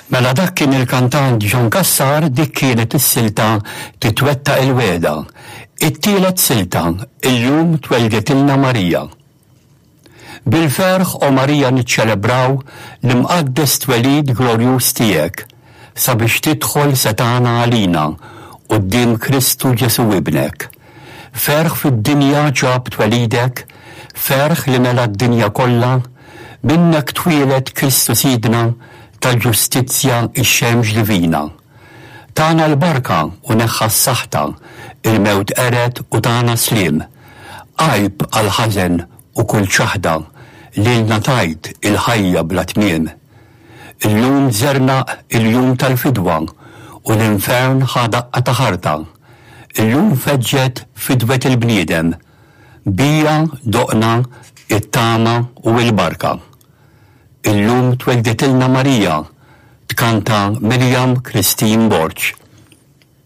Mela dak kien il-kantant John Cassar, dik kienet is-silta Titwettaq il-Wegħda. It-tielet silta, Illum twelditilna Marija. Bil-ferħ, o Marija niċċelebraw l-imqaddes twelid glorjuż tiegħek, sabiex tidħol setgħana għalina quddiem Kristu Ġesù Ibnek. Ferħ fid-dinja ġab twelidek, ferħ li mela d-dinja kollha, minnek twieled Kristu Sidna tal-ġustizzja x-xemx divina. Tana l-barka u neħħa s-saħta, il-mewt qered u tana sliem. Għajb għall-ħażen u kull ċaħda, lilna tajt il-ħajja bla tmiem. Illum żernaq il-jum tal-fidwa u l-infern ħa daqqa ta' ħarta. Illum feġġet fidwet il-bniedem. Bija doqna it-tama u l-barka. Illum twelditilna Marija, tkanta Miriam Christine Borg.